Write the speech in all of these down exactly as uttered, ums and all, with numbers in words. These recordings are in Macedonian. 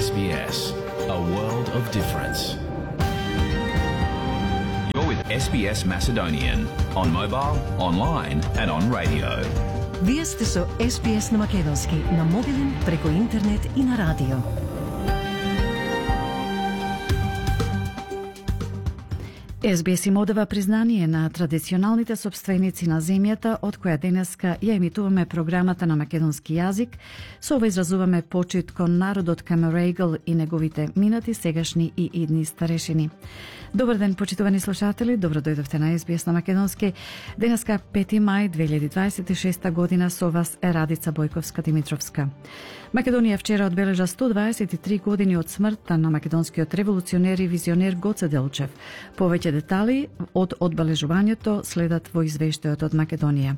S B S, a world of difference. You're with S B S Macedonian on mobile, online and on radio. Вие сте со С Б С на македонски, на мобилен, преку интернет и на радио. С Б С им одава признание на традиционалните собственици на земјата, од која денеска ја емитуваме програмата на македонски јазик. Со ова изразуваме почит кон народот Камерегл и неговите минати, сегашни и идни старешини. Добар ден, почитувани слушатели, добро дојдовте на С Б С на македонски. Денеска пети мај две илјади дваесет и шеста година, со вас е Радица Бојковска-Димитровска. Македонија вчера одбележа сто дваесет и три години од смртта на македонскиот револуционер и визионер Гоце Делчев. Повеќе детали од одбележувањето следат во извештајот од Македонија.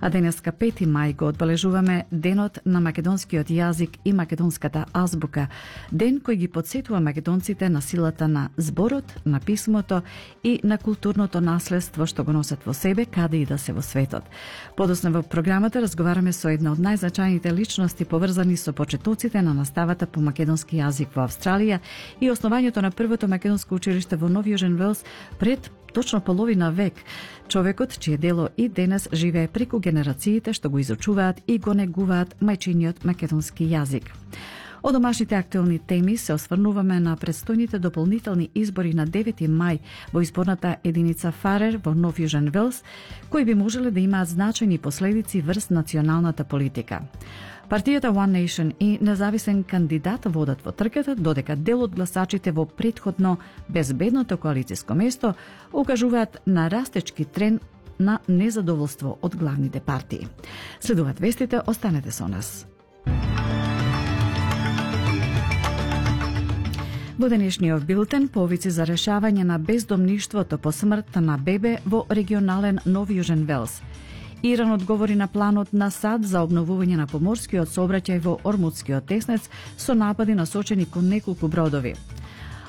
А денеска пети мај го одбележуваме Денот на македонскиот јазик и македонската азбука, ден кој ги потсетува македонците на силата на зборот, на писмото и на културното наследство што го носат во себе, каде и да се во светот. Подоцна во програмата разговараме со една од најзначајните личности поврзани со почетоците на наставата по македонски јазик во Австралија и основањето на првото македонско училиште во Нов Јужен Велс пред точно половина век. Човекот чие дело и денес живее преку генерациите што го изучуваат и го негуваат мајчиниот македонски јазик. Од домашните актуелни теми се осврнуваме на предстојните дополнителни избори на девети мај во изборната единица Фарер во Нов Јужен Велс, кои би можеле да имаат значајни последици врз националната политика. Партијата One Nation и независен кандидат водат во трката, додека дел од гласачите во претходно безбедното коалицијско место укажуваат на растечки тренд на незадоволство од главните партии. Следуваат вестите, останете со нас. Во денешниот билтен повици за решавање на бездомништвото по смртта на бебе во регионален Нов Јужен Велс. Иран одговори на планот на САД за обновување на поморскиот сообраќај во Ормудскиот теснец со напади насочени кон неколку бродови.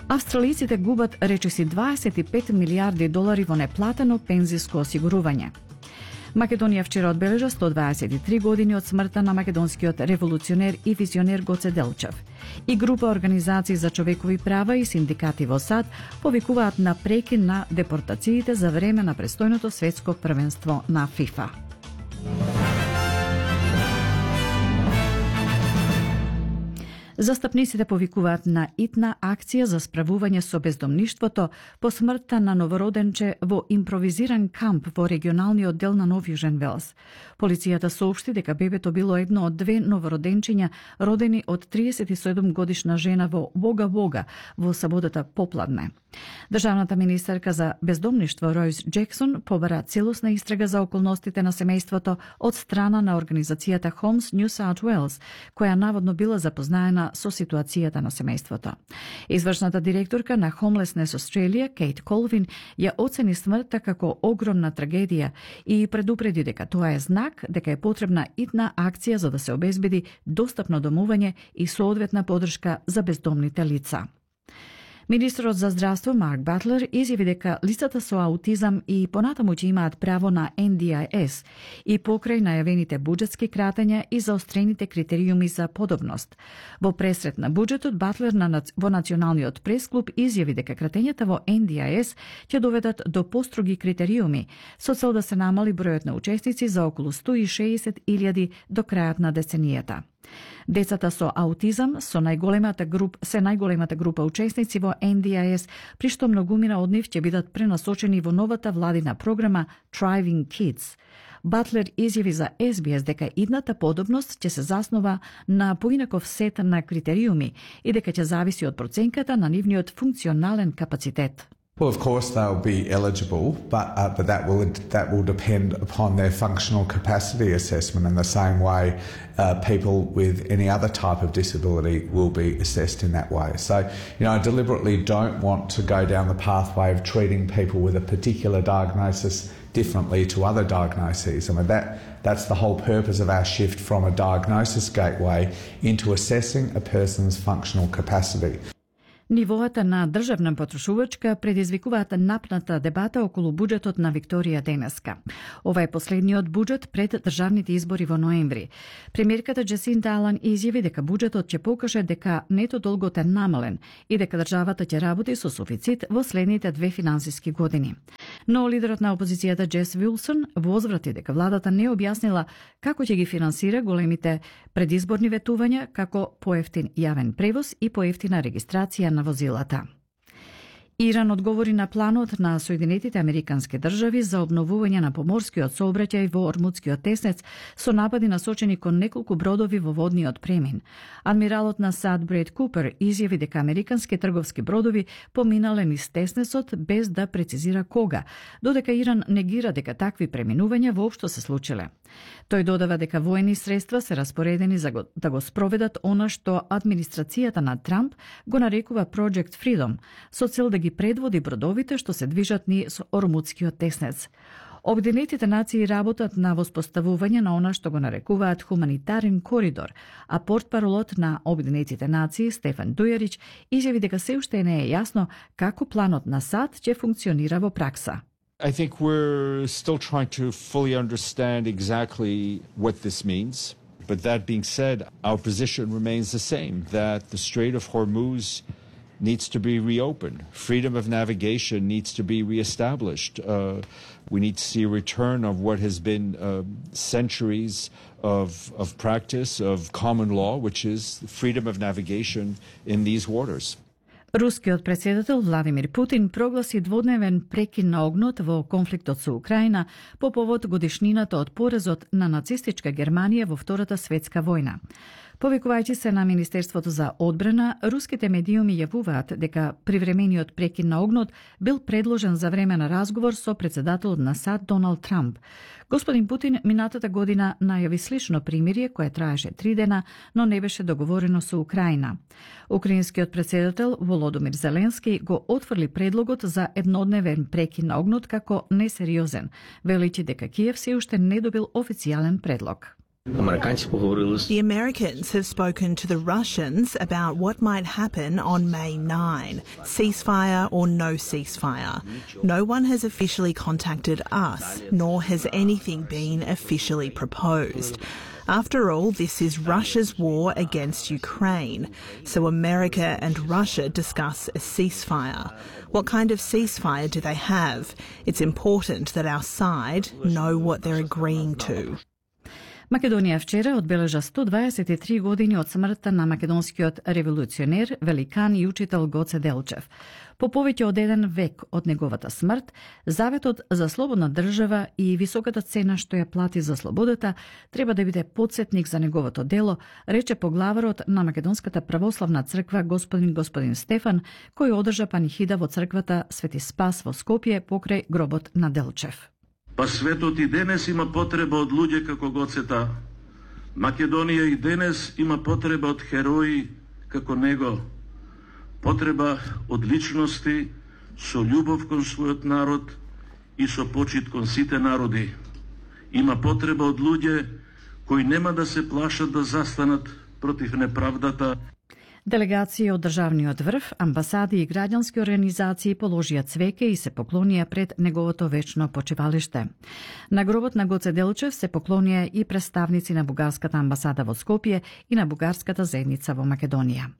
Австралиците губат речиси дваесет и пет милијарди долари во неплатено пензиско осигурување. Македонија вчера одбележа сто дваесет и три години од смртта на македонскиот револуционер и визионер Гоце Делчев. И група организации за човекови права и синдикати во САД повикуваат на прекин на депортациите за време на престојното светско првенство на ФИФА. Застапниците повикуваат на итна акција за справување со бездомништвото по смртта на новороденче во импровизиран камп во регионалниот дел на Нов Јужен Велс. Полицијата соопшти дека бебето било едно од две новороденчиња родени од триесет и седум годишна жена во Вога Вога во саботата попладне. Државната министерка за бездомништво Ројс Джексон побара целосна истрага за околностите на семејството од страна на организацијата Homes New South Wales, која наводно била запознаена со ситуацијата на семејството. Извршната директорка на Homelessness Australia, Кейт Колвин, ја оцени смртта како огромна трагедија и предупреди дека тоа е знак дека е потребна итна акција за да се обезбеди достапно домување и соодветна поддршка за бездомните лица. Министерот за здравство Марк Батлер изјави дека лицата со аутизам и понатаму ќе имаат право на Н Д I S и покрај најавените буџетски кратења и заострените критериуми за подобност. Во пресрет на буџетот, Батлер на, во Националниот пресклуб изјави дека кратењата во Н Д I S ќе доведат до построги критериуми со цел да се намали бројот на учесници за околу сто и шеесет илјади до крајот на деценијата. Децата со аутизам со најголемата груп, се најголемата група учесници во Н Д I S, при што многумина од нив ќе бидат пренасочени во новата владина програма Thriving Kids. Батлер изјави за С Б С дека идната подобност ќе се заснова на поинаков сет на критериуми и дека ќе зависи од проценката на нивниот функционален капацитет. Well, of course they'll be eligible, but uh, but that will that will depend upon their functional capacity assessment in the same way uh, people with any other type of disability will be assessed in that way. So, you know, I deliberately don't want to go down the pathway of treating people with a particular diagnosis differently to other diagnoses. I mean, that that's the whole purpose of our shift from a diagnosis gateway into assessing a person's functional capacity. Нивоата на државна потрошувачка предизвикуваат напната дебата околу буџетот на Викторија денеска. Ова е последниот буџет пред државните избори во ноември. Премиерката Джасинта Алан изјави дека буџетот ќе покаже дека нето долгот е намален и дека државата ќе работи со суфицит во следните две финансиски години. Но лидерот на опозицијата Джес Вилсон возврати дека владата не објаснила како ќе ги финансира големите предизборни ветувања, како поевтин јавен превоз и поевтина регистрација на возилата. Иран одговори на планот на Соединетите Американски држави за обновување на поморскиот сообраќај во Ормудскиот теснец со напади насочени кон неколку бродови во водниот премин. Адмиралот на САД Бред Купер изјави дека американски трговски бродови поминале низ теснецот без да прецизира кога, додека Иран негира дека такви преминувања воопшто се случиле. Тој додава дека воени средства се распоредени за го, да го спроведат она што администрацијата на Трамп го нарекува Project Freedom, со цел да ги предводи бродовите што се движат низ Ормудскиот теснец. Обединетите нации работат на воспоставување на она што го нарекуваат хуманитарен коридор, а портпаролот на Обединетите нации Стефан Дујарич изјави дека се уште не е јасно како планот на САД ќе функционира во пракса. I think we're still trying to fully understand exactly what this means. But that being said, our position remains the same, that the Strait of Hormuz needs to be reopened. Freedom of navigation needs to be reestablished. Uh, we need to see a return of what has been uh, centuries of, of practice of common law, which is freedom of navigation in these waters. Рускиот претседател Владимир Путин прогласи дводневен прекин на огнот во конфликтот со Украина по повод годишнината од поразот на нацистичка Германија во Втората светска војна. Повикувајќи се на Министерството за одбрана, руските медиуми јавуваат дека привремениот прекин на огнот бил предложен за време на разговор со претседателот на САД Доналд Трамп. Господин Путин минатата година најави слично примирие кое траеше три дена, но не беше договорено со Украина. Украинскиот претседател Володомир Зеленски го отфрли предлогот за еднодневен прекин на огнот како несериозен, величи дека Киев се уште не добил официјален предлог. The Americans have spoken to the Russians about what might happen on May ninth, ceasefire or no ceasefire. No one has officially contacted us, nor has anything been officially proposed. After all, this is Russia's war against Ukraine, so America and Russia discuss a ceasefire. What kind of ceasefire do they have? It's important that our side know what they're agreeing to. Македонија вчера одбележа сто дваесет и три години од смртта на македонскиот револуционер, великан и учител Гоце Делчев. По повеќе од еден век од неговата смрт, заветот за слободна држава и високата цена што ја плати за слободата треба да биде потсетник за неговото дело, рече поглаварот на Македонската православна црква господин господин Стефан, кој одржа панихида во црквата Свети Спас во Скопје покрај гробот на Делчев. Па светот и денес има потреба од луѓе како Гоцета. Македонија и денес има потреба од херои како него. Потреба од личности со љубов кон својот народ и со почит кон сите народи. Има потреба од луѓе кои нема да се плашат да застанат против неправдата. Делегации од државниот врв, амбасади и граѓански организации положија цвеќе и се поклонија пред неговото вечно почивалиште. На гробот на Гоце Делчев се поклонија и представници на бугарската амбасада во Скопје и на бугарската заедница во Македонија.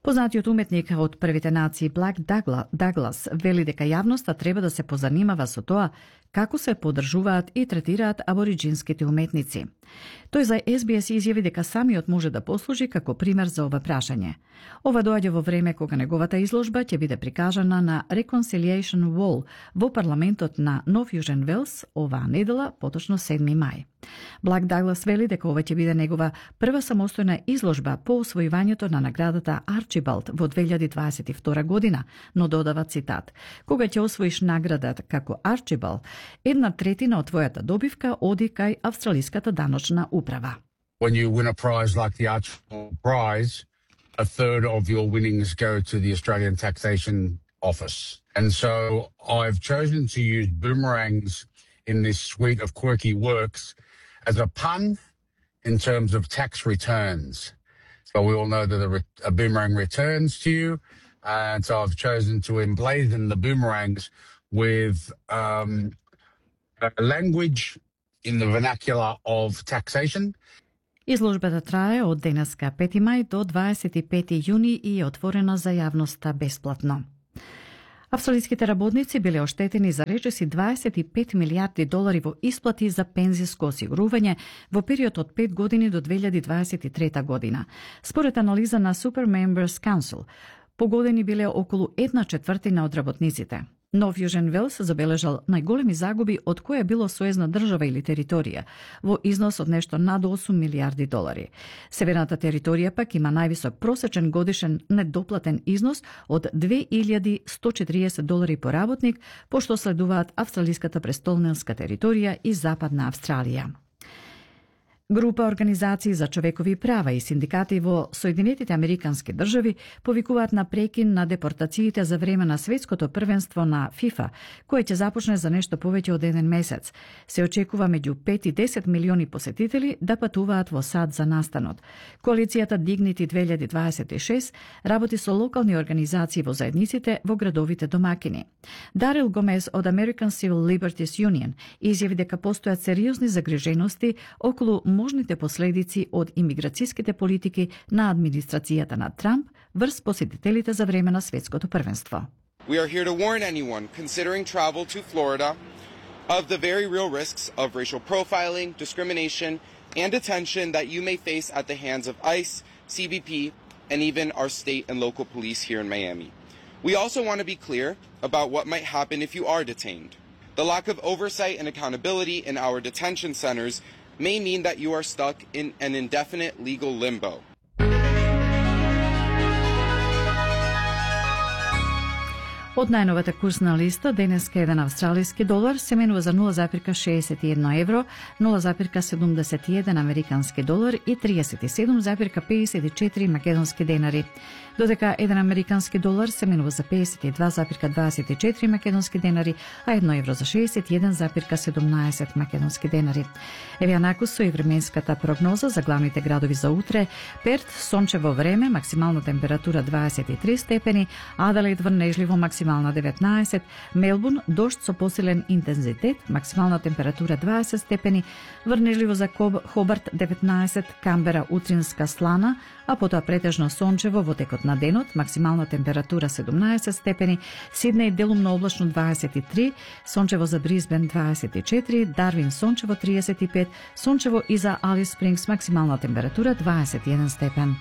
Познатиот уметник од првите нации Блак Даглас вели дека јавноста треба да се позанимава со тоа како се поддржуваат и третираат абориџинските уметници. Тој за Ес Би Ес изјави дека самиот може да послужи како пример за ова прашање. Ова доаѓа во време кога неговата изложба ќе биде прикажана на Reconciliation Wall во парламентот на Нов Јужен Велс оваа недела, поточно седми мај. Блак Даглас вели дека ова ќе биде негова прва самостојна изложба по освојувањето на наградата Арчибалд во две илјади дваесет и втора година, но додава цитат: "Кога ќе освоиш наградата како Арчибалд, една третина од твојата добивка оди кај австралиската даночна управа." When you win a prize like the Archibald Prize, a third of your winnings go to the Australian Taxation Office. And so I've chosen to use boomerangs in this suite of quirky works as a pun in terms of tax returns. So we all know that a, re- a boomerang returns to you, And so I've chosen to emblazon the boomerangs with um, a language in the vernacular of taxation. Изложбата трае од денеска пети мај до дваесет и пети јуни и е отворена за јавноста бесплатно. Австралиските работници биле оштетени за речиси дваесет и пет милијарди долари во исплати за пензиско осигурување во период од пет години до две илјади дваесет и трета година. Според анализа на Super Members Council, погодени биле околу една четвртина од работниците. Нов Јужен Велс забележал најголеми загуби од која било сојузна држава или територија, во износ од нешто над осум милијарди долари. Северната територија пак има највисок просечен годишен недоплатен износ од две илјади сто четириесет долари по работник, пошто следуваат австралиската престолнинска територија и Западна Австралија. Група организации за човекови права и синдикати во Соединетите Американски држави повикуваат на прекин на депортациите за време на светското првенство на FIFA, кое ќе започне за нешто повеќе од еден месец. Се очекува меѓу пет и десет милиони посетители да патуваат во САД за настанот. Коалицијата Dignity две илјади дваесет и шест работи со локални организации во заедниците во градовите домакини. Дарил Гомес од American Civil Liberties Union изјави дека постојат сериозни загрижености околу можните последици од имиграцијските политики на администрацијата на Трамп врз посетителите за време на светското првенство. We are here to warn anyone considering travel to Florida of the very real risks of racial profiling, discrimination, and detention that you may face at the hands of ICE, C B P, and even our state and local police here in Miami. We also want to be clear about what might happen if you are detained. The lack of oversight and accountability in our detention centers may mean that you are stuck in an indefinite legal limbo. Од најновата курсна листа, денеска еден австралиски долар се менува за нула запирка шеесет и едно евро, нула запирка седумдесет и еден американски долар и триесет и седум запирка пеесет и четири македонски денари. Додека еден американски долар се менува за пеесет и два запирка дваесет и четири македонски денари, а едно евро за шеесет и еден запирка седумнаесет македонски денари. Еве накус со и временската прогноза за главните градови за утре: Перт сончево време, максимална температура дваесет и три степени, Аделаид врнежливо, максимална деветнаесет, Мелбурн дожд со посилен интензитет, максимална температура дваесет степени, врнежливо за Хобарт деветнаесет, Камбера утринска слана, а потоа претежно сончево во текот на денот, максимална температура седумнаесет степени, Сиднеј делумно облачно дваесет и три, сончево за Брисбен дваесет и четири, Дарвин сончево триесет и пет, сончево и за Алис Спрингс, максимална температура дваесет и еден степен.